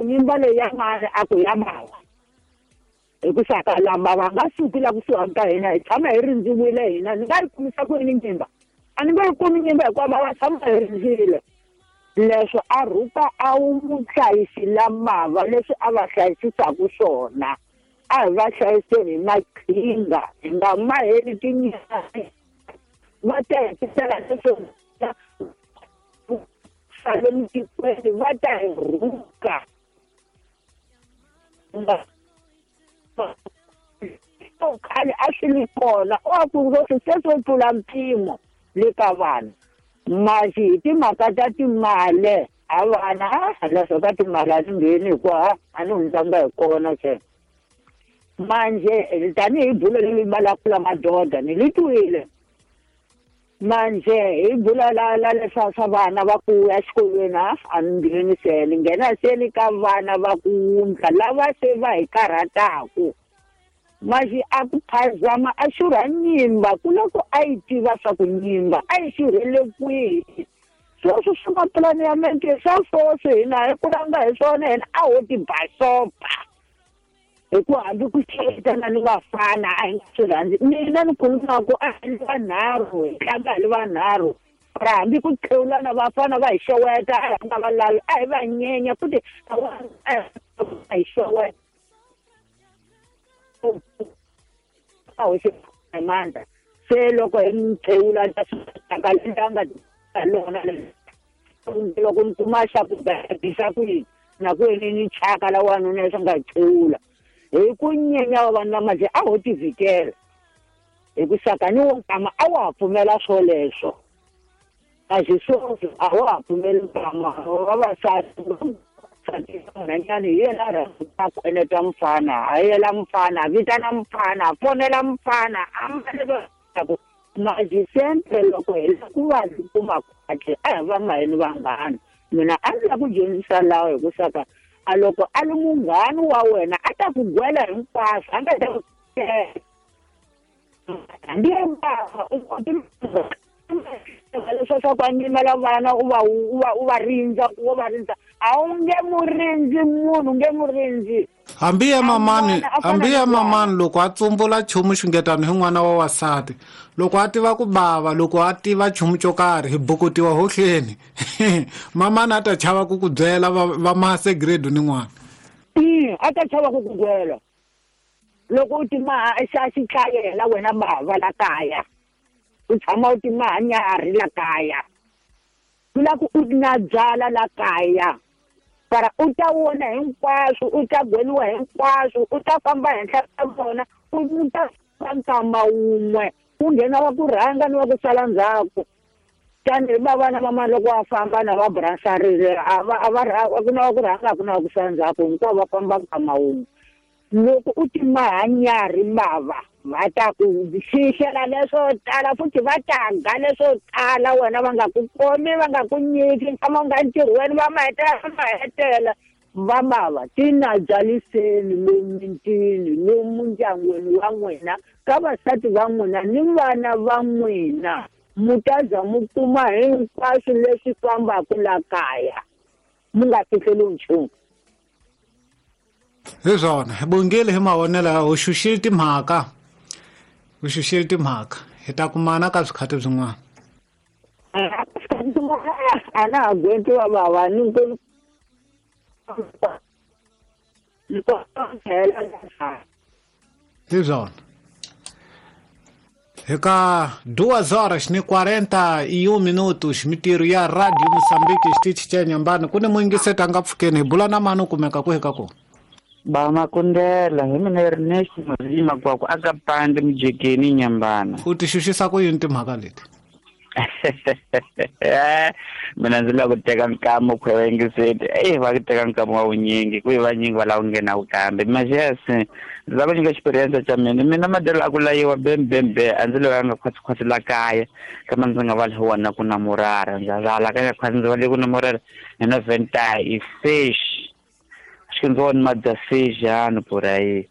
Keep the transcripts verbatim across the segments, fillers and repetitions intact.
Nyimba leyi ya mani a ku ya mava hi ku saka lama va nga suki la kusuhani ka hina hi tshama hi rindziwile hina ni nga yi kumisa ku yini nyimba a ni nge yi kumi nyimba hikuva va va tshama hi rindzile leswo a rhuka a wu muhlayisi la mava leswi a va hlayisisaku swona a hi va hlayiseni hi maqhinga hi nga maheli tinyani va ta hetisela leswo sale tikweni va ta hi rhuka khale a swi li kona a ku se swo tlula mpimo le ka vanhu masi hi timhaka ta timali a vana leswo ka timali a ni ngheni hikuva a ni hundzanga hi kona se manje tanihi bulo leri valakula madoda ni li twile manje hi bula la la leswa swa vana va ku ya exikolweni a a ni ngheni se ni nghena se ni ka vana va ku wundla lava se va hi karhataku maxi a ku phazama a xurha nyimba ku loko a yi tiva swa ku nyimba a yi xurhele kwihi sweswo swi mapulani ya mente swa swoswi hina hi kulanga hi swona hina a ho ti basopa hi ku hambi ku xetana ni vafana a hi nga swi rhandzi mina ni khulumaku a hi li vanharhu hi tlanga hi li vanharhu ra hambi ku tlewulana vafana va hi xeweta a hi nga va lavi a hi va nyenya futhi a hi xeweta a hoxe mandla se loko hi mi tlewula ta swi langa lona loko ni kuma xa ku bisa ku yini na ku yini ni chaka la wanuna leswi nga tlewula hi ku nyenya wa vanhu lama a ho ti vhikela hi ku saka ni wo nkama a wa ha pfumela swoleswo a xi swoswi a wa ha pfumeli nkama vavasati nhanyani hi yena a rhandza a khweneta mufana a yela mufana a vitana mufana a fonela mufana a mbale maji sempre loko hi la ku va kuma khwatli a hi va maheni vanghana mina a ndzi la ku dyondzisa lawa hi ku saka a loko a li munghana wa wena a ta ku gwela hinkwaswo a nga ta ku hambi bava u leswo swa ku a nyimela vana u va u va u va rindza wo va rindza a wu nge mu rindzi munhu nge mu rindzi hambi ya mamani hambi ya mamani loko a tsumbula nchumu xungetano hi n'wana wa wasati loko a tiva ku bava loko a tiva nchumu xo karhi hi bukutiwa hohleni mamani a ta chava ku ku byela va mase grade ni n'wana a ta chava ku ku byela loko u ti maha xa xitlayela wena bava la kaya u tshama u ti maha nyarhi la kaya ku la ku u na byala la kaya para u ta vona hinkwaswo u ta gweliwa hinkwaswo u ta famba henhla ka vona u ta famba nkama wun'we ku nghena wa ku rhanga ni wa ku sala ndzhaku tanihi vavana va mani loko va famba na va bransarile a va a va ku na wa ku rhanga a ku na wa ku sala ndzhaku hinkwavo va famba nkama wun'we loko u ti maha nyarhi bava va ta ku xixela leswo tala futhi va ta ga leswo tala wena va nga ku komi va nga ku nyiki nkama u nga ntirhweni va ma hetela va ma hetela va mava tina byaliseni lomu mitini lomu ndyangwini wa n'wina ka vasati va n'wina ni vana va n'wina mu ta za mu kuma hinkwaswo leswi fambaka la kaya mu nga fihleli nchumu hi swona hi bongile hi mavonelo u xuxile timhaka u xuxile timhaka hi ta kumana ka swikhathi swin'wana a na ha gwenti wa vava ni hi swona hi ka duas horas ni quarenta e um minutos mitirho ya Radio Moçambique xitichi xa Nyambani ku ni muyingiseti a nga pfukeni hi bula na mani u kumeka kwihi ka kona ba makundela hi mina Ernest Mazima kwaku aka pande mujekeni Nyambana u ti xuxisa ku yini timhaka leti mina ndzi lava ku teka nkama ku yingiseti eh va ku teka nkama wa vunyingi ku vanyingi va lava ku nghena kambe majesi ndzi lava nyika experience xa mina mina madelo a ku layiwa bem bem be a ndzi loyi a nga khwatsi la kaya kama ndzi nga va le wona ku na murara ndza vala ka khwatsi ndzi va le ku na murara na venta i fish xindzoni madasejano por aí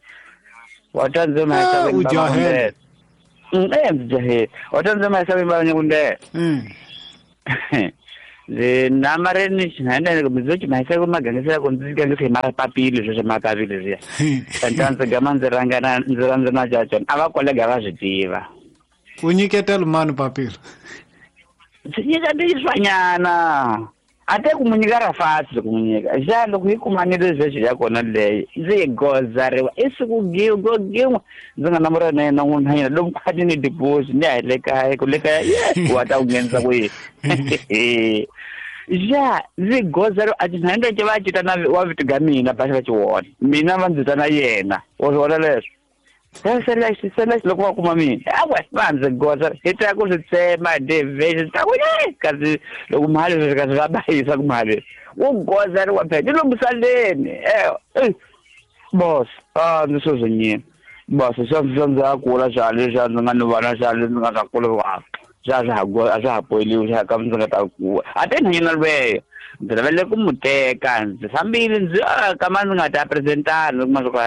watanze ma u jahele eh jahele watanze ma sabe ba nyakunde mm Ndzi namareni xinhanyana ndzi xi mahisa ku magangisela ku ndzi gangisa hi mapapila sweswo mapapila leswiya. Kanta ndzi gama ndzi rhangana ndzi rhandza na cacana a va kolega va swi tiva. U nyiketela mani papila? Ndzi nyika ndiswanyana. A te ku mu nyika ra fasi ku mu nyika. Xa loko hi kumanile sweswi ya kona leyi ndzi gozariwa i siku go gin'we ndzi nga namura na yena n'wunhanyana lomu khwati ni diposi ni ya hi le kaya ku le kaya ye wa ta ku nghenisa kwihi. Ja ndzi gozariwa a tinhanyana leti va cita na wa vito ga mina basi va ci vona mina va ndzi ta na yena wa swi vona leswo. Se se loko va kuma mina awe va ndzi goza hi ta ku swi tsema devhesi ta ku kasi loko mali leswi kasi va bayisa ku mali wu gozariwa phela ni lomusaleni eh boss a ndzi swo nyina boss swa swa ndzi a kula xa leswi a ndzi nga ni vana xa leswi ndzi nga ta kula wa xa swa ha a swa ha poyiliwi xa ka ndzi nga ta kuwa a te nhanyana lweyo ndzi lavele ku mu teka ndzi fambile ndzi kama ndzi nga ta presentana kuma swa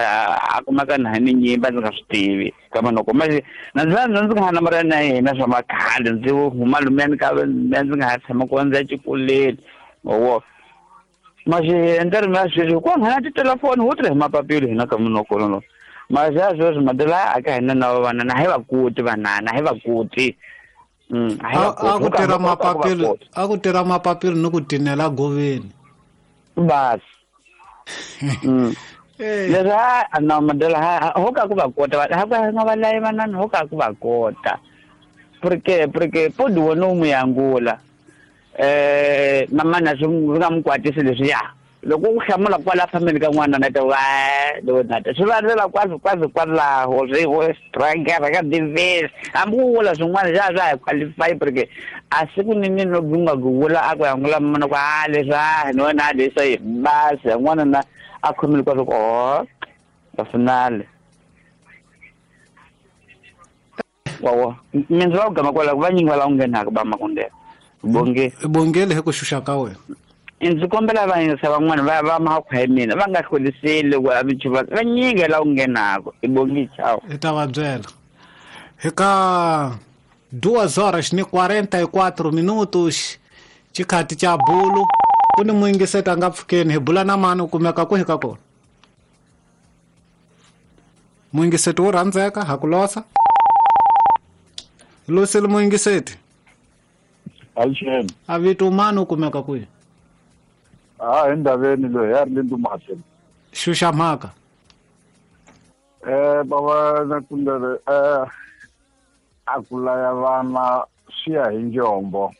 a kumaka na ni nyimba ndzi nga swi tivi kama loko manje na ndzi ndzi nga ha namara na yena swa makhale ndzi huma lumeni ka ndzi nga ha tshama kona ndzi ya xikolweni wo manje ndzi na sweswi ku nghena titelefoni ho tirha hi mapapila hina ka munhu kona lo manje a sweswi madela a ka hina na vana na hi va kuti vanana hi va kuti. Mm, a ku tirha mapapila a ku tirha mapapila ni ku tinela goveni bas. Mm. Leswi a na madela ha ho ka ku va kota ha ka nga va layi vanana ho ka ku va kota porque porque podi wona u mu yangula eh mamana swi nga mu kwatisi leswiya loko u hlamula kwala fambeni ka n'wana na ta wa loko na ta swi va ndlela kwazi kwazi kwalaho swi wo striker ka divers hambi u vula swin'wana swa swa hi qualify porque a siku ni ni no gunga ku vula a ku yangula mana ku a leswi a ni wena a leswi basi n'wana na a khomile kwa ku oh ka finale wa mina ndzi va ku gama kwala ku vanyingi va lava ku nghenaka ba makundela bonge bongele hi ku xuxa ka wena. Ndzi kombela vayingisa van'wana va va makhwa ya mina va nga hloliseli ku avichuva va nyingi la ku nghenaka i bongi chao i ta va byela hi ka duas horas ni quarenta e quatro minutos xikhati xa bulu ku ni muyingiseti a nga pfukeni hi bula na mani u kumeka kwihi ka kona muyingiseti wo rhandzeka ha ku losa losile muyingiseti alixeni a vito mani u kumeka kwihi. Ah, endaveni loyi ya ri le Ndumahle. Xuxa mhaka. Eh baba na kundele eh a ku laya vana swi ya hi njombo.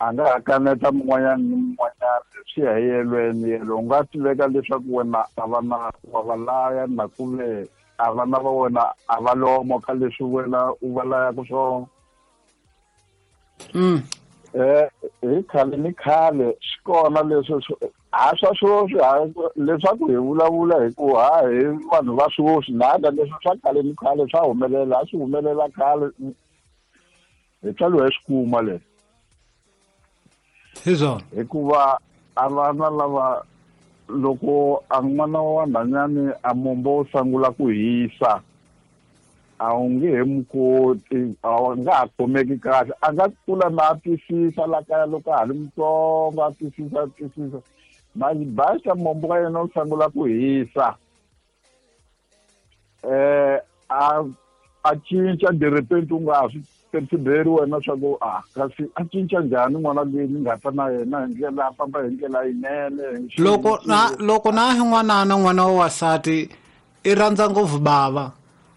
A nga ha kaneta mun'wanyana ni mun'wanyana swi ya hi yelweni yelo u nga tiveka leswaku wena a va na wa va laya na kuve a vana va wena a va lomo ka leswi wena u va layaka swona. Mm. Eh hi khale ni khale swi kona leswi ha swa sweswi leswaku hi vulavula hi ku ha hi vanhu va sweswi nada leswi swa khale ni khale swa humelela a swi humelela khale hi tlhelo hi swi kuma leswi hi swona hikuva a vana lava loko a n'wana wa nhwanyana a mombo wu sungula ku hisa a wu nge he mu koti a nga ha khomeki kahle a nga kula na a twisisa la kaya loko a ha ri mutsongo a twisisa a twisisa manje basa mombo wa yena wu sungula ku hisa eh a a cinca de repente u nga ha swi perceberi wena swa ku a kasi a cinca njhani n'wana loyi ni nga ta na yena hi ndlela a famba hi ndlela yinene loko na loko na hi n'wanana n'wana wa wasati i rhandza ngopfu bava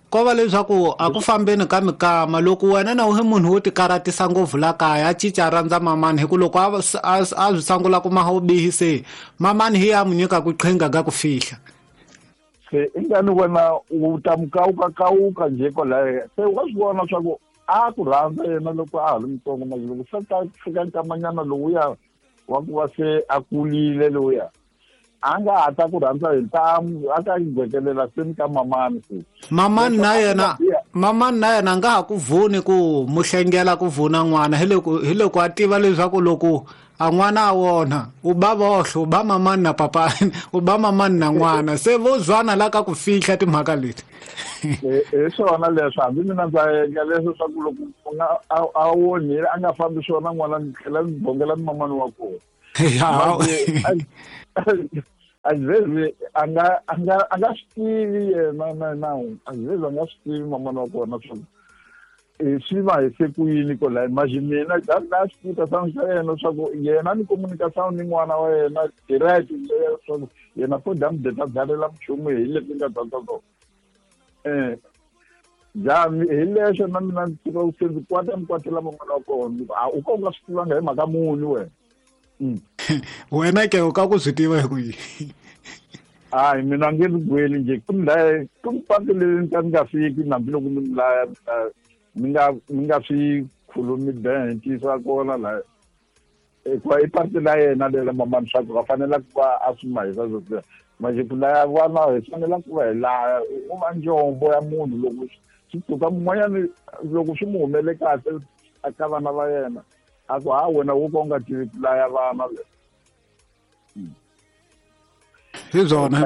ko va leswaku a ku fambeni ka mikama loko wena na u munhu wo tikaratisa ngopfu la kaya a cinca a rhandza mamani hi ku loko a a swi sungula ku maha u bihi se mamani hi ya mu nyika ku qhinga ka ku fihla se ingani wena u ta mukawukakawuka njhe kwalaya se wa swi vona swa ku a ku rhandza yena loko a ha ri mutsongo manje loko se ta fika nkamanyana lowuya wa ku va se a kulile lowuya a nga ha ta ku rhandza hi ntamu a ta gwekelela se ni ka mamani se mamani na yena mamani na yena a nga ha ku vuni ku muhlengela ku vuna n'wana hi loko hi loko a tiva leswaku loko a n'wana a wona u ba vohle u ba mamani na papani u ba mamani na n'wana se vo zwana la ka ku fihla timhaka leti Hi swona leswi hambi mina ndza endla leswi swa ku loko a onhile a nga fambi swona n'wana ni tlhela ni bongela ni mamani wa kona. Azivezi a nga a nga a nga swi tivi yena na na azivezi a nga swi tivi mamani wa kona swa swi va hise ku yini ko la imagine mina na swi tiva xa yena swa ku yena ni communication ni n'wana wa yena direct swa ku yena fo dam data dzalela nchumu hi leswi nga ta ta eh jami hi leswo na mina ndzi tiva se ndzi kwata ni kwatela mamani wa kona a u ka u nga swi tivanga hi mhaka muni wena. Wena ke u ka ku swi tiva hi ku yini? Hayi mina nge ndzi gweli njhe ku ni laya ku ni patu leri ni ka ni nga fiki hambiloko mi ni laya mi nga mi nga swi khulumi ben ntiyiso wa kona la hikuva i patu la yena lela mamani swa ku va fanela ku va a swi mahisa sweswiya manje ku laya vana hi fanela ku va hi laya u va njombo ya munhu loko swi tshuka mun'wanyani loko swi mu humele kahle eka vana va yena a ku ha wena wo ka u nga tivi ku laya vana hi byona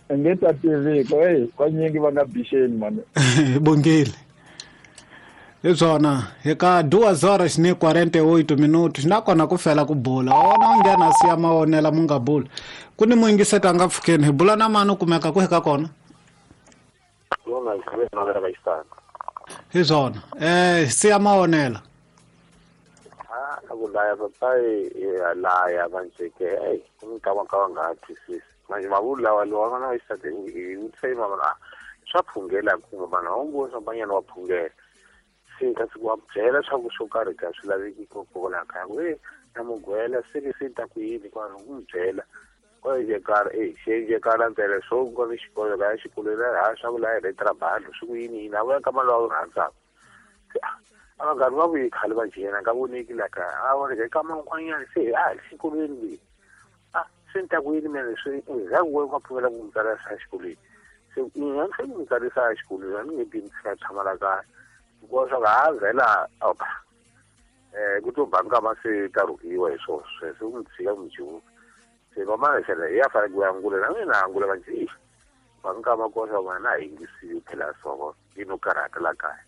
hi nge ta tiviko eyi vanyingi va nga bixeni mani hi bongile hi byona hi ka duas horas ni quarenta e oito minutos nakona ku fela ku bula wona u nghena siya mawonela mu nga bula ku ni muyingiseti a nga pfukeni hi bula na mani u kumeka ku hi ka kona hi byona eh siya mawonela a ku laya papai laya vanjeke ei nkama ka nga twisisi manje mavulu lawa lowa vana va xisati hi vutisa yi mama a swa phungela kuma vanhu a wu voni swa banyana wa phungela se kasi ku wa byela swa ku swo karhi ka swi laveki kokwalaho kaya ku e na mugwela se ni se ta ku yini kwano ku n'wi byela kwayejekala e xejekala ntsena swo ku ni xikolo kaya xikolweni ha swa ku laya hi trabalho swi ku yini yini a vuya ka mali wa wu rhandzaka a vanghani va vuyi khale va jena nga voneki la kaya a voneka eka man'wanyana se a xikolweni leyi a se ni ta ku yini mina leswi endzhaku ko nga pfumela ku n'wi tsarisa exikolweni se mina ni fanele ku n'wi tsarisa exikolweni a ni nge bi ni tshika tshama la kaya hikuva swa ku ha vhela opa um ku to ba nkama se ta rhukiwa hi swona sweswo ku n'wi tshika ku n'wi jiwuka se mamana xela hi ya fanele ku angula na mina angula va ndzi ba nkama koxa vana na yingisiwi phela swo yi no karhata la kaya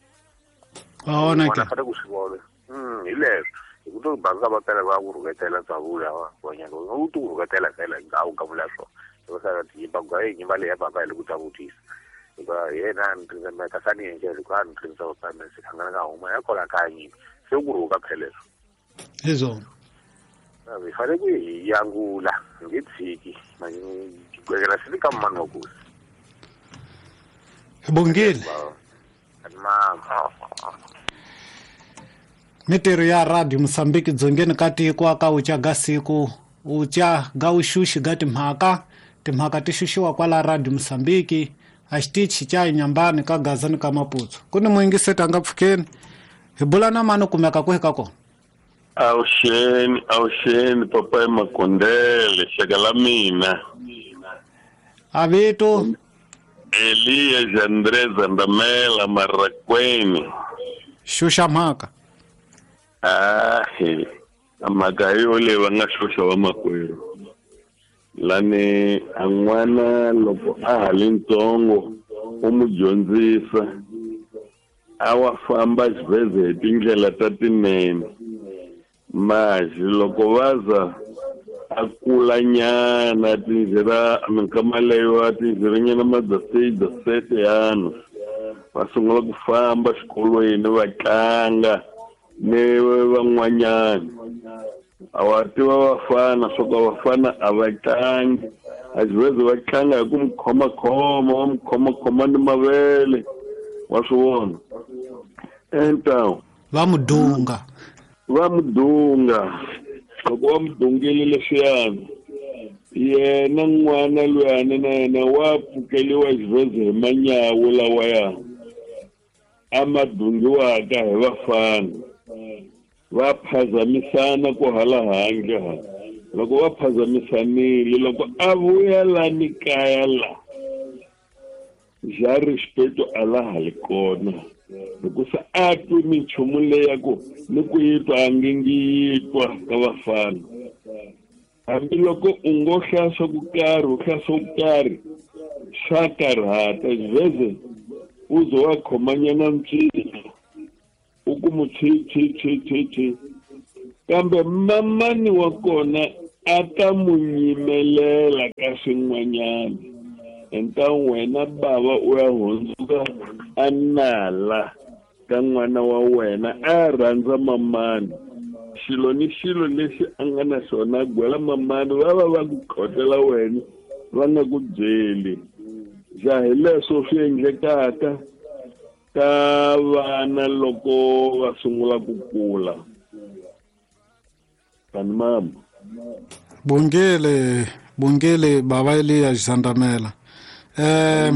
ona ke fanele ku swi vona mm hi leswo hi ku to banka va phela va ku rhuketela tsavula wa nyanga u to rhuketela phela nga u ka vula swo va sala ti ba ga yi nyimba leya baba hi le ku ta vutisa hikuva yena ni rindzela ka sani yena loko a ni rindzela pa me se khangana ka huma ya kola ka yini se ku rhuka phela leswo hi swona hi fanele ku hi yangula hi nge tshiki gwekela swi ka mani wa kosi hi bongile mitirho ya radio Mozambique dzongeni ka tiko ka ucha ga siku ucha ga uxuxi ga timhaka timhaka ti xuxiwa kwala radio Mozambique a xitichi xa Inhambane ka Gaza ni ka Maputo ku ni muyingiseti a nga pfukeni hi bula na mani u kumeka kwihi ka kona. Awuxeni awuxeni papai Makondele xaka la mina a vito Elias Andrés Andamela Marrakweni xuxa mhaka ahe mhaka yo leyi va nga xuxa va makwerhu lani a n'wana loko a ha li ntsongo u mu dyondzisa a wa famba xivheze hi tindlela ta tinene maji loko vaza a kula nyana tindlela minkama leyo a tindlela nyana ma dezesseis dezessete anos va sungula ku famba xikolweni va tlanga ni van'wanyana a wa tiva vafana swo ka vafana a va tlangi a xivheze va tlanga hi ku mi khomakhoma va mi khomakhoma ni mavele wa swi vona então va mudunga va mudunga loko va mudungile leswiyani yena n'wana luyani na yena wa pfukeliwa xivheze hi manyawu lawaya a ma dungiwaka hi vafana va phazamisana ku hala handle ha loko va phazamisanile loko a vuya lani kaya la ja respeito a la ha li kona hikusa a twi minchumu leyi ku ni ku yi twa a nge ngi yi twa ka vafana hambiloko u ngo hlaya swa ku karhi u hlaya swo karhi Swa karhata xiveze u ze wa khomanyana ncino u ku mu tshi tshi tshi tshi tshi kambe mamani wa kona a ta mu nyimelela ka swin'wanyana enta wena bava u ya hundzuka a nala ka n'wana wa wena a rhandza mamani xilo ni xilo lexi a nga na xona gwela mamani va va va ku khotela wena va nga ku byeli ja hi leswo swi endlekaka ka vana loko va sungula ku kula tani mama bongele bongele baba Eliya Xandamela eh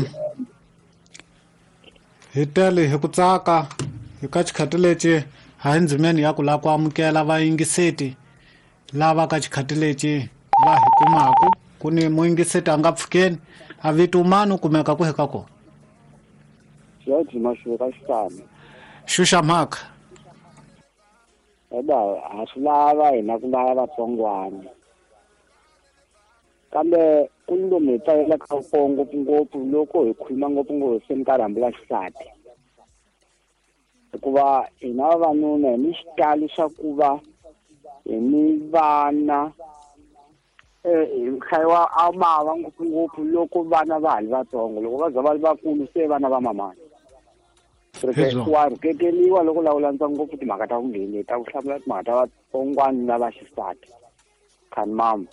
hi tele hi ku tsaka hi ka xikhati lexi ha ndzimeni ya ku lava ku amukela vayingiseti lava ka xikhati lexi va hi kumaku ku ni muyingiseti a nga pfukeni a vito mani u kumeka ku heka kona George Mashuka Xitami xuxa mhaka eba ha swi lava hina ku lava vatsongwana kambe ku ni lomu hi pfalelaka kona ngopfungopfu loko hi khuluma ngopfungopfu se mi ka rhambu la xisati hikuva hina vavanuna hi ni xitalo xa ku va hi ni vana hi hlayiwa a bava ngopfungopfu loko vana va ha ri vatsongo loko va za va ri vakulu se vana va mamani wa rhuketeliwa loko la u landza ngopfu timhaka ta ku ngheni ta ku hlamula timhaka ta vatsongwana lava xisati khani mama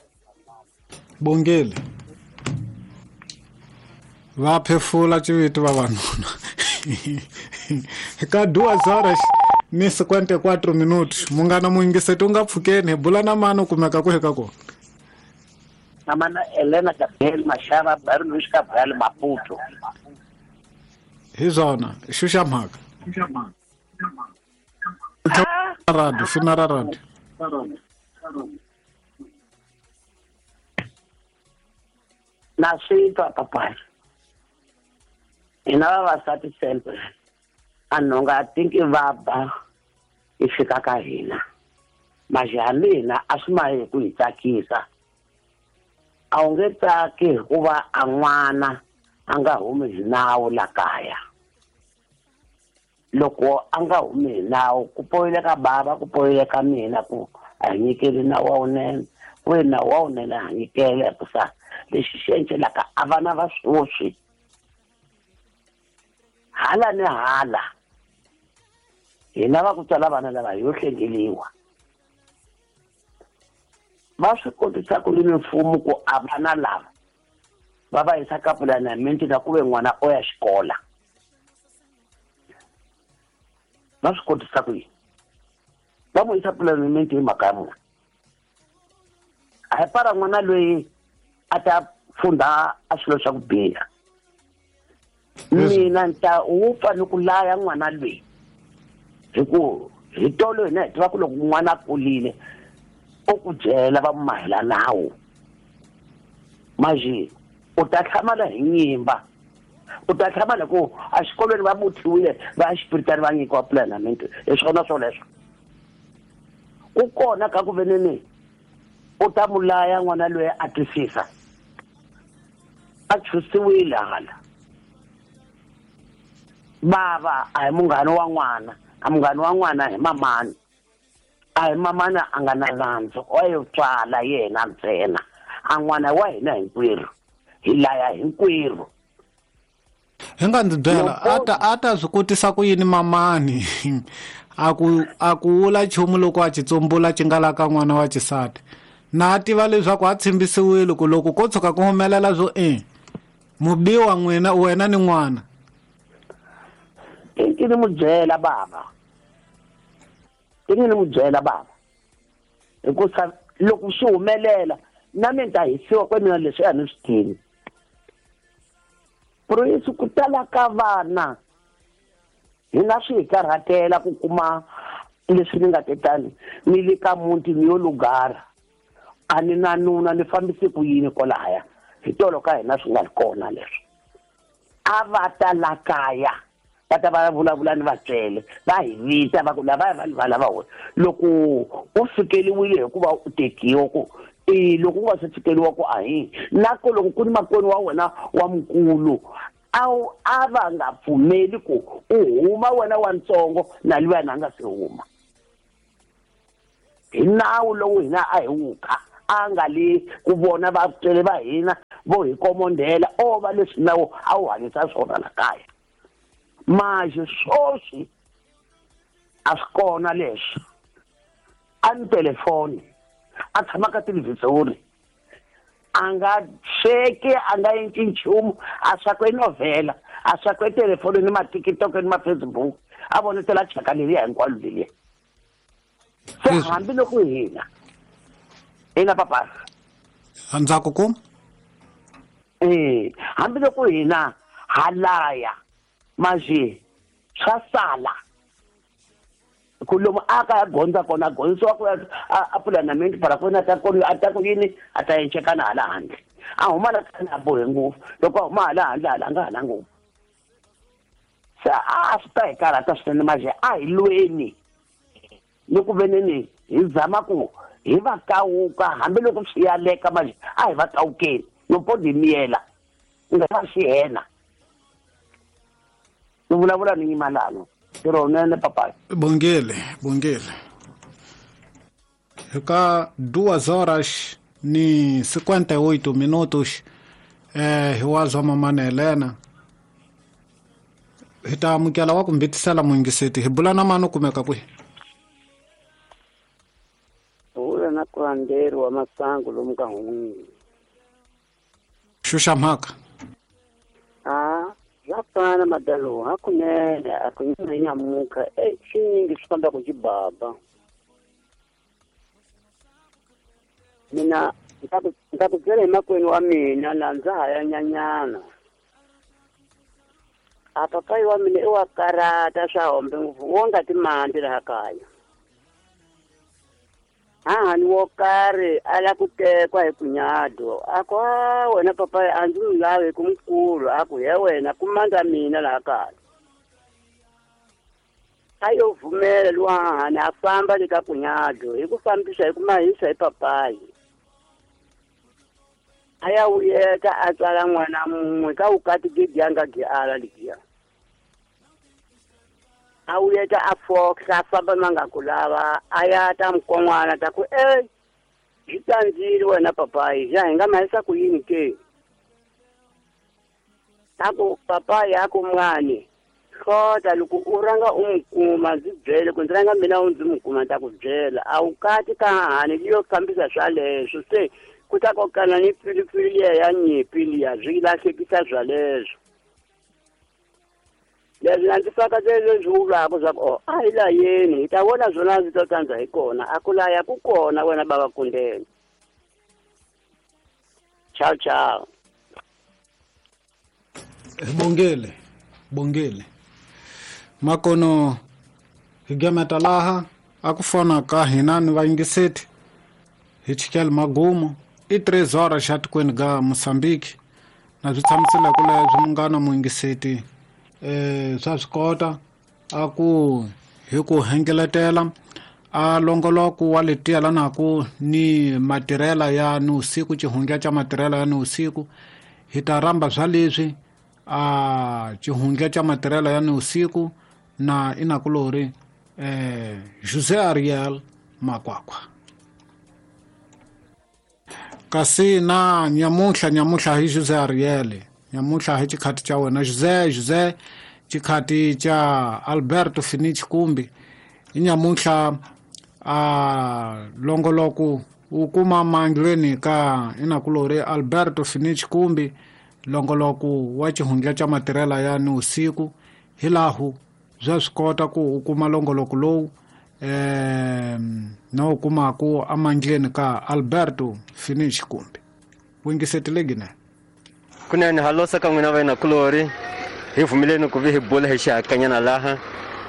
bongele va phefula civiti vavanuna ka duas horas ni cinquenta e quatro minutos munghana muyingiseti u nga pfukeni hi bula na mani u kumeka ku heka kona namana Elena Gabriel Mashava Baron Luis Gabriel Maputo hi swona xuxa mhaka radio fina ra radio na swi twa papai hina vavasati sempre a nhonga a tinki va ba yi fika ka hina maji ya mina a swi ma hi ku hi tsakisa a wu nge tsaki hikuva a n'wana a nga humi hi nawu la kaya loko a nga humi hi nawu ku poyile ka bava ku poyile ka mina ku a hi nyikeli nawu wa wunene ku ve nawu wa wunene a nyikele hikusa lexi xi encelaka a vana va swoswi hala ni hala hina va ku tswala vana lava yo hlengeliwa va swi kotisa ku yini mfumo ku a vana lava va va yisa ka pulanamenti na ku ve n'wana o ya xikola va swi kotisa ku yini va n'wi yisa pulanamenti hi mhaka ya vona a hi para n'wana loyi a ta funda a swilo swa ku biha mina ni ta wu fanele ku laya n'wana loyi hi ku hi tolo hina hi tiva ku loko n'wana a kurile o ku byela va mu mahela nawu maji u ta hlamala hi nyimba u ta hlamala ku a xikolweni va vuthiwile va ya xipiritani va nyikiwa pulanamenti hi swona swoleswo ku kona ka ku veneni u ta mu laya n'wana loyi a twisisa a chusiwile hala bava a hi munghana wa n'wana a munghana wa n'wana hi mamani a hi mamana a nga na nandzu wa yo tswala yena ntsena a n'wana wa hina hinkwerhu hi laya hinkwerhu hi nga ndzi byela a ta a ta swi kotisa ku yini mamani a ku a ku wula nchumu loko a xitsumbula xi nga la ka n'wana wa xisati na a tiva leswaku a tshembisiwile ku loko ko tshuka ku humelela swo e mubiwa n'wina wena ni n'wana i ni mu byela bava i ni mu byela bava hikusa loko swi humelela na mina ta hisiwa kwe mina leswi a ni swi tivi Proyisi ku tala ka vana hina swi hi karhatela ku kuma leswi ni nga tetani ni le ka muti ni yo lugara a ni na nuna ni fambise ku yini kwalaya hi tolo ka hina swi nga ri kona leswi a va ta la kaya va ta va vulavula ni vatswele va hi vita va ku lava va va lava wena loko u fikeliwile hikuva u tekiwa ku E loko u nga se tshikeliwa ku ahi na ku loko ku ni makwenu wa wena wa mukulu a a va nga pfumeli ku u huma wena wa ntsongo na luya na nga se huma hi nawu lowu hina a hi wuka a nga le ku vona vatswari va hina vo hi komondela o va leswi nawu a wu hanyisa swona la kaya manje swoswi a swi kona leswi a ni telefoni a tshama ka televhizori a nga sweki a nga endli nchumu a swakwe novhela a swakwe telefoni ni ma-TikTok ni ma-Facebook a vonetela chaka leriya hinkwalo leriya se hambiloko hina hina papa ndzhaku ku eh hambiloko hina ha laya manje swa sala ku lomu a ka ya gondza kona gondzisiwa ku a pfula na menti para ku ta ku a ta ku yini a ta encekana hala handle a huma la kana a bohe ngopfu loko a huma hala handle hala nga hala ngopfu se a swi ta hi karhata swinene manje a hi lweni ni ku veneni hi zama ku hi va kawuka hambiloko swi yaleka manje a hi va kawukeni no podi miyela nga va xihena ni vulavula ni nyimalano ntirho wunene papayi bongele bongele ka duas horas ni cinquenta e oito minutos eh hi wa zwa mamana Helena hi ta amukela wa ku mbitisela muyingiseti hi bula na mani u kumeka kwihi bula na kulanderi wa masangu lomu ka hun'wini xuxa mhaka a swa fana madalo hakunene a ku nyamuka e swinyingi swi famba ku xibaba mina ndza ku byela hi makwenu wa mina laha ndza ha ya nyanyana a papayi wa mina i wa karata swa hombe ngopfu wo nga timandi laha kaya hahani wo karhi a la ku tekwa hi kunyado a ku a wena papayi a ndzi n'wi lavi ku mukulu a ku he wena ku mandza mina laha kaya a yo vumela luwa hahani a famba le ka kunyado hi ku fambisa hi ku mahisa hi papayi a ya wuyeta a tswala n'wana mun'we ka vukati gidi ya nga gi ala ligiya a wuyeta a fohla a famba ma nga ku lava a ya ta mukon'wana ta ku e byi tsandzile wena papayi xa hi nga mahisa ku yini ke a ku papayi a ku mwani hlota loko u rhanga u n'wi kuma ndzi byele ku ndzi rhanga mina u ndzi n'wi kuma ni ta ku byela a wu kati ka hahani yi yo fambisa swaleswo se ku ta kokana ni pilipili liya ya nyimpi liya swi lahlekisa swaleswo leswi na ndzi fakatele leswi vulaka swa ku o a hi layeni hi ta vona swona ndzi to tsandza hi kona a ku laya ku kona wena bava kundeni ciao ciao bongele bongele makono hi gameta laha a ku fona ka hina ni vayingiseti hi chikele magumo i três horas xa tikweni ga Mozambique na swi tshamisela ku leswi munghana muyingiseti eh swa swi kota a ku hi ku hengeletela a longoloko wa letiya lanaku ni matirhela ya ni usiku xihundla xa matirhela ya ni usiku hi ta rhamba swa leswi a xihundla xa matirhela ya ni usiku na inakulori eh José Ariel Makwakwa kasi na nyamuhla nyamuhla hi José Ariel nyamuhla hi xikhati xa wena José José xikhati xa Alberto Finich Kumbi i nyamuhla a longoloko u kuma mandlweni ka inakulori Alberto Finich Kumbi longoloko wa xihundla xa matirhela ya ni usiku hi lahu bya swi kota ku u kuma longoloko lowu eh na u kumaku amandleni ka Alberto Finich Kumbi wingisetile gine kunene halosa ka n'wina va inakulori hi vumeleni ku vi hi bula hi xihakanyana laha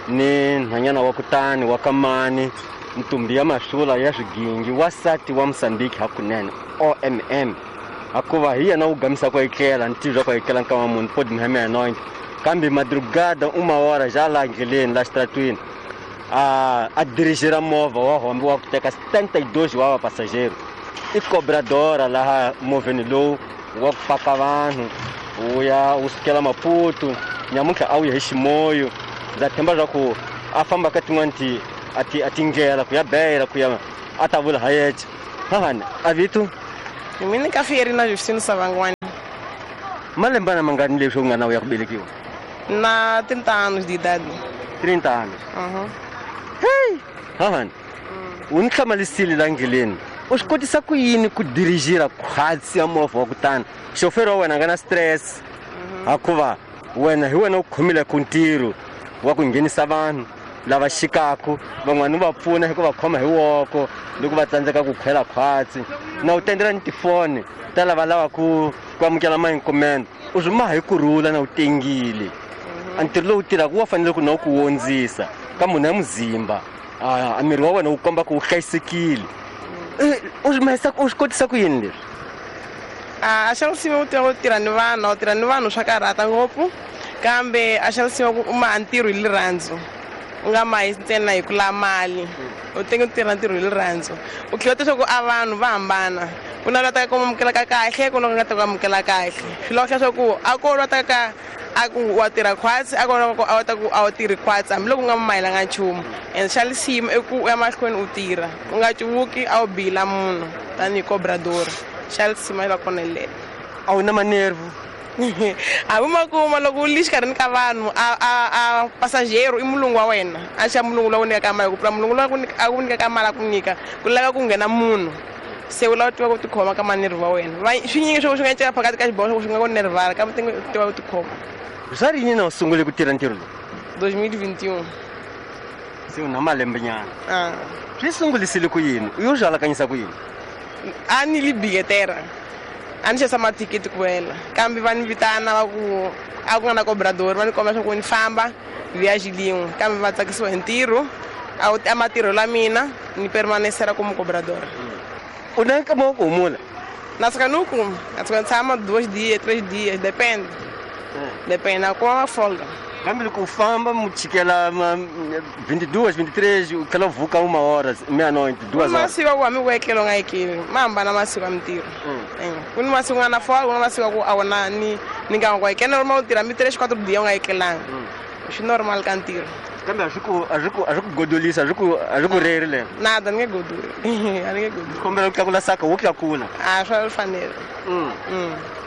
ni nhwanyana wa kutani wa kamani ntumbi ya mahlula ya swigingi wasati wa Mozambique hakunene O M M akuva hi yena wu gamisa ku etlela ni tivya ku etlela nkama munhu podi mihame ya nointi kambe madrugada uma hora já la endleleni la xitratwini a a dirigir movha wa hombe wa ku teka setenta e dois wa vapassageiro I cobradora laha movheni lowu wa ku paka vanhu wu ya wu sukela Maputo nyamuntlha a wu ya hi Ximoyo ndza tshemba leswaku a famba ka tin'wani ti a ti a tindlela ku ya Beira ku ya a ta vula hayeche hahani a vito Mina ka Fierina Justino Savangwani. Malembana mangani leswi u nga na u ya ku velekiwa? Na trinta anos de idade. trinta anos. Uhum. Hey, hahani. U ni hlamalisile la ndleleni. U swi kotisa ku yini ku dirigira khwatsi ya movha wa kutani xoferi wa wena a nga na stress hikuva wena hi wena u khomileke ntirho wa ku nghenisa vanhu lava xikaku van'wani u va pfuna hi ku va khoma hi woko loko va tsandzeka ku khwela khwatsi na u tendela ni tifoni ta lava lavaku ku amukela maincomment u swi maha hi kurhula na u tengile a ntirho lowu tirhaka wa fanele ku na u ku wondzisa ka munhu ya muzimba a miri wa wena wu komba ku wu hlayisekile u swi mahisa u swi kotisa ku yini leswi? A xa nsimu u tirha u tirha ni vanhu u tirha ni vanhu swa karhata ngopfu kambe a xa nsimu ku u maha ntirho hi rirhandzu u nga mahi ntsena hi ku lava mali u tenge u tirha ntirho hi rirhandzu u tlhela u leswaku a vanhu va hambana ku na lava taka ku amukelaka kahle ku na ku nga ta ku amukela kahle swi lava leswaku a ko lwa taka a ku wa tirha khwatsi a ko lwa ku a ta ku a wu tirhi khwatsi hambiloko u nga mahelanga nchumu and xa lisima i ku u ya mahlweni u tirha u nga cuvuki a wu bila munhu tanihi cobrador xa lisima la kona lele a wu na manervu a wu ma kuma loko u li xikarhini ka vanhu a a a pasajero i mulungu wa wena a xa mulungu lowu nyikaka mali ku pfula mulungu lowu a ku nyikaka mali a ku nyika ku lava ku nghena munhu se u lava u tiva ku tikhoma ka manervu wa wena swi nyingi swo swi nga cela phakathi ka xiboho swo swi nga ku nervala kambe u tiva ku tikhoma. Swa rini na u sungule ku tirha ntirho lowu? dois mil e vinte e um. Se u na malembe nyana. Ah. Swi sungulisile ku yini? U yo swi alakanyisa ku yini? A ni li bilheteira. A ni xavisa mathikithi ku wela kambe va ni vitana va ku a ku nga na cobrador va ni komba leswaku ni famba viagem lin'we kambe va tsakisiwa hi ntirho a wu a matirho la mina ni permanecer como cobrador. U na nkama wa ku humula? Na suka ni wu kuma na suka ni tshama dois dias três dias depende depende na kuma folga. Kambe loko u famba mu chikela vinte e duas, vinte e três u tlhela u vuka uma hora meia-noite duas horas. Masiku a ku hambi ku etlela u nga etleli ma hambana masiku ya mintirho ku ni masiku nga na folga ku na masiku ku a wu na ni ni nga ku etlela normal u tirha mi três quatro dias u nga etlelanga swi normal ka ntirho. Kambe a swi ku a swi ku a swi ku godolisa a swi ku a swi ku reri le? Nada ni nge godoli a ni nge godoli. Kombela ku tlakula saka wo tlakula. A swa fanela.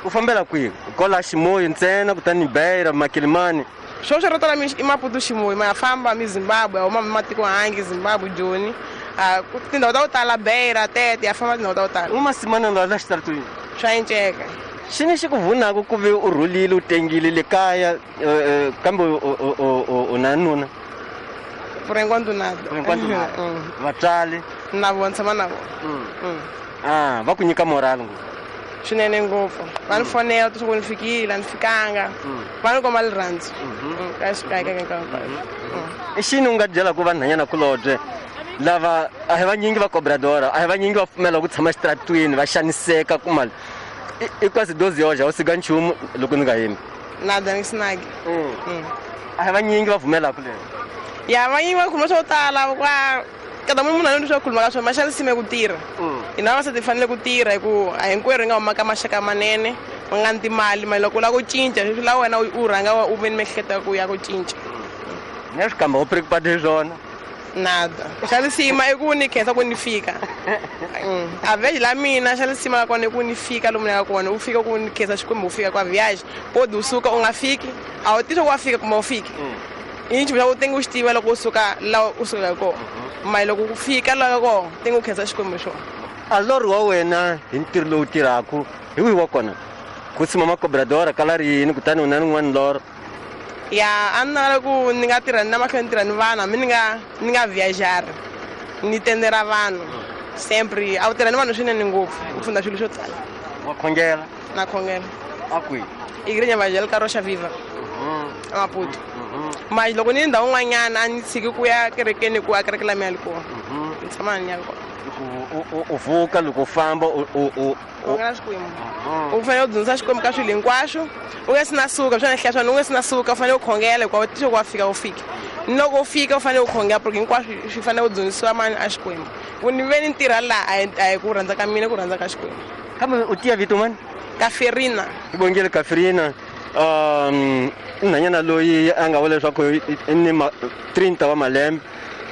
U fambela kwihi? Kwala Ximoyo ntsena kutani Beira Makilimani? Swo swo tala i Maputo Ximoyo ma famba mi Zimbabwe huma matiko hangi Zimbabwe Joni tindhawu ta ku tala Beira Tete ya famba tindhawu ta ku tala. U masimana la la xitaratwini? Swa enceka. Xi ni xi ku vunaka ku ve u rhulile u tengile le kaya kambe u na nuna? Por enquanto nada. Por enquanto nada. Vatswari? Na vona tshama na vona. Ah, va ku nyika moral ngopfu. Swinene ngopfu. Va ni fonela leswaku ni fikile a ni fikanga. Va ni komba rirhandzu. Ka ka ka ka ka. I xini u nga byelaka vanhwanyana kulobye lava a hi vanyingi va cobradora a hi vanyingi va pfumela ku tshama xitaratwini va xaniseka ku mali i quase doze horas a wu sika nchumu loko ni nga yimi. Nada ni sinaki. A hi vanyingi va pfumelaka lero. Ya vanyingi va khuluma swo tala kwa kada munhu a ni swa khuluma ka swona ma xa lisime ku tirha. Hina vavasati hi fanele ku tirha hi ku a hinkwerhu hi nga huma ka maxaka manene ma nga ni timali mali loko u lava ku cinca swi lava wena u rhanga u ve ni miehleketo ya ku ya ku cinca. Ni ya swi kamba u preocupado hi swona? Nada. Xa lisima i ku ni khensa ku ni fika. A viagem la mina xa lisima la kona i ku ni fika lomu ni yaka kona u fika ku ni khensa Xikwembu u fika kwa viagem podi u suka u nga fiki a wu tivi ku wa fika kumbe a wu fiki. I nchumu xa ku tenge u xi tiva loko u suka laha u sukaka kona mali loko ku fika laha kona tenge u khensa Xikwembu xona. A lorho wa wena hi ntirho lowu tirhaka hi wihi wa kona? Ku tshama macobradora kala rini kutani u na rin'wana lorho? Ya a ni navela ku ni nga tirha ni na mahlweni ni tirha ni vanhu hambi ni nga ni nga viajar ni tendera vanhu sempre a wu tirha ni vanhu swinene ngopfu u funda swilo swo tala. Wa khongela? Na khongela. A kwihi? Igreja Evangélica Rocha Viva a Maputo. Mas loko ni ndhawu n'wanyana a ni tshiki ku ya kerekeni ku a kereke la mina yi kona ni tshama ni ya kona. Loko u vuka loko u famba u u khongela Xikwembu. U fanele u dzunisa Xikwembu ka swilo hinkwaswo. U nga si na suka swona hlaya swona u nga si na suka u fanele u khongela hikuva u tixo ku wa fika u fika. Loko u fika u fanele u khongela porque hinkwaswo swi fanele u dzunisiwa mani a Xikwembu. Ku ni ve ni ntirha laha a hi ku rhandza ka mina ku rhandza ka Xikwembu. Kambe u tiya vito mani? Kaferina. Bongile Kaferina. Um nhwanyana loyi a nga vula leswaku i ni trenta wa malembe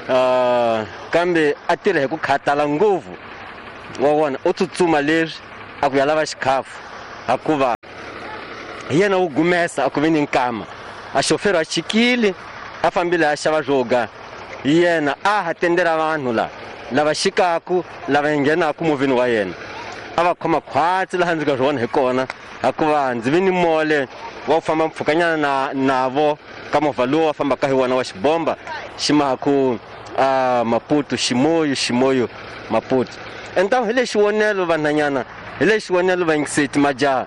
uh kambe a tirha hi ku khatala ngopfu wa vona u tsutsuma leswi a ku ya lava xikhafu hikuva hi yena wu gumesa a ku ve ni nkama a xofero a chikile a fambile a xava swo yena a ha tendela vanhu la lava xikaku lava nghenaku movheni wa yena a va khoma khwatsi laha ndzi nga swi vona hi kona hikuva ndzi ve ni mole wa ku famba mpfhukanyana na navo ka movha lowu wa fambaka hi wona wa xibomba xi mahaku uh, Maputo Ximoyo Ximoyo Maputo. Enta hi le xivonelo vanhanyana hi le xivonelo vayingiseti majaha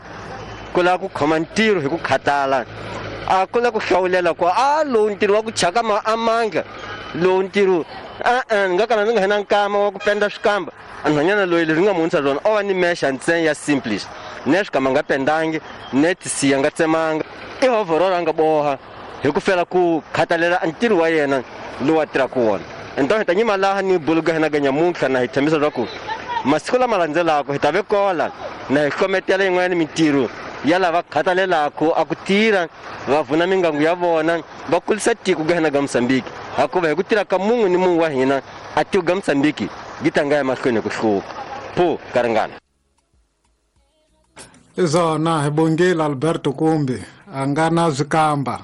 ku lava ku khoma ntirho hi ku khatala a ku lava ku hlawulela ku a lowu ntirho wa ku chaka ma amanga lowu ntirho a ni nga kala ni nga hina nkama wa ku penda swikamba a nhwanyana loyi leswi nga muhundza swona o va ni mexa ntsena ya simplist ne swikamba nga pendangi ne tisiya nga tsemanga i overall a nga boha hi ku fela ku khatalela ntirho wa yena lowu a tirhaka wona. Enta hi ta nyima laha ni buluga hina ga nyamuntlha na hi tshembisa leswaku masiku lama landzelaka hi ta ve kola na hi hlometela yin'wana mintirho ya lava khathalelaka a ku tirha va vuna mingangu ya vona va kulisa tiko ga hina ga Mozambique hikuva hi ku tirha ka mun'we ni mun'we wa hina a tiko ga Mozambique yi ta nga ya mahlweni ku hluka phu ka ringana. Izona hi bongile Alberto Kumbi a nga na swikamba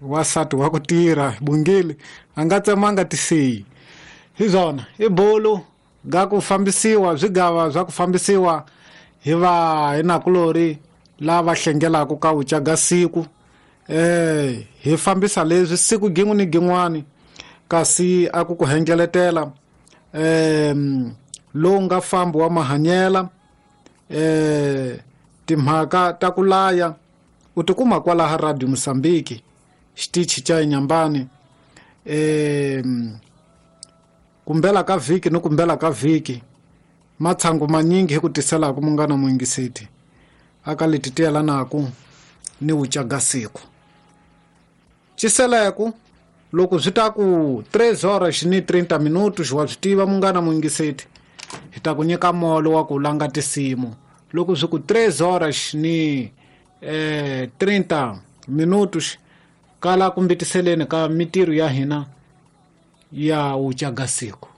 wasati wa ku tirha hi bongile a nga tsemanga tisiyi. Hi zona i bolo ga ku fambisiwa swigava swa ku fambisiwa hi va hi nakulori lava hlengelaka ka wuca ga siku eh hi fambisa leswi siku gin'we ni gin'wani kasi a ku ku hengeletela eh lowu nga fambi wa mahanyela eh timhaka ta ku laya u tikuma kwalaha Radio Mozambique xitichi xa Inyambani eh kumbela ka vhiki ni kumbela ka vhiki matshangu manyingi hi ku tiselaka munghana muyingiseti aka leti tiyelanaku ni wuca ga siku. Ciseleku loko swi ta ku tres horas ni treinta minutos wa swi tiva munghana muyingiseti hi ta ku nyika molo wa ku langa tinsimu. Loko swi ku tres horas ni eh treinta minutos kala kumbitiseleni ka mitirho ya hina ya wuca ga siku.